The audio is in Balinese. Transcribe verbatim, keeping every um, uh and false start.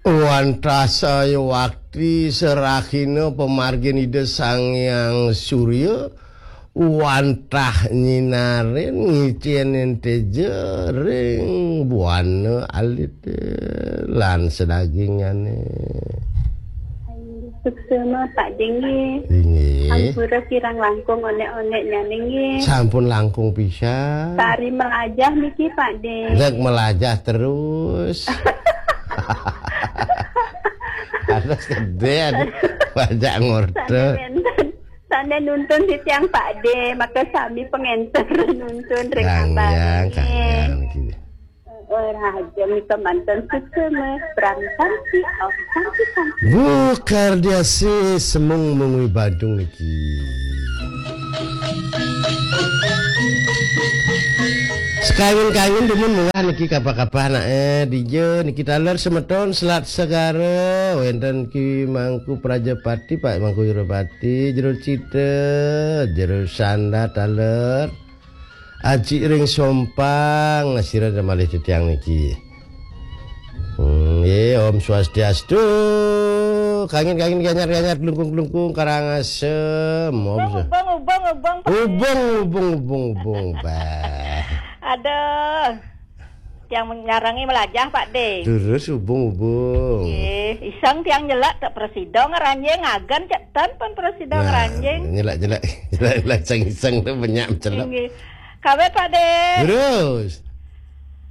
Wantah saya wakti serahina pamargin Ida Sang Hyang Surya, wantah nyinarin ngicénin téja ring buana alit lan sadagingane. Suksma Pak Dé nggih. Inggih. Ampura kirang langkung onék-onéknyané nggih. Sampun langkung pisan. Sari melajah niki Pak Dé. Nek melajah terus. Ada sedih, ada banyak ngorder. Sané nuntun titiang Pak Dé, maka sami pengenter nuntun ring Kang abang Yang, nggih. Kang Yang, gitu. Eh, raja mika manten suksma, prang santi, om santi santi. Bu Kardiasi semung mengwi Badung niki. Sekawin-kawin dumun munggah niki kapah-kapah anake dija niki taler semeton Selat Segara, wenten Ki Mangku Prajapati, Pak Mangku Wirapati, Jero Cita, Jero Sanda taler. Aji ring Sompang, sira malih titiang niki. Hmm, nggih, Om Swastiastu. Kangin-kangin ganyar-ganyar glungkung-glungkung Karangasem. Om Swa- Ubung, ubung, ubung, Pak. Ubung, ubung, ubung, ubung, bah. Aduh. Yang nyarangi melajah, Pak Dé. Terus ubung-ubung. Nggih, iseng tiang nyelak tak presida ngranjing, ngagen cek ten pun presida Nah, ngranjing. nyelak-nyelak, nyelak-nyelak iseng-iseng tu banyak mencelak. Nggih. Kawit, Pak Dé. Terus.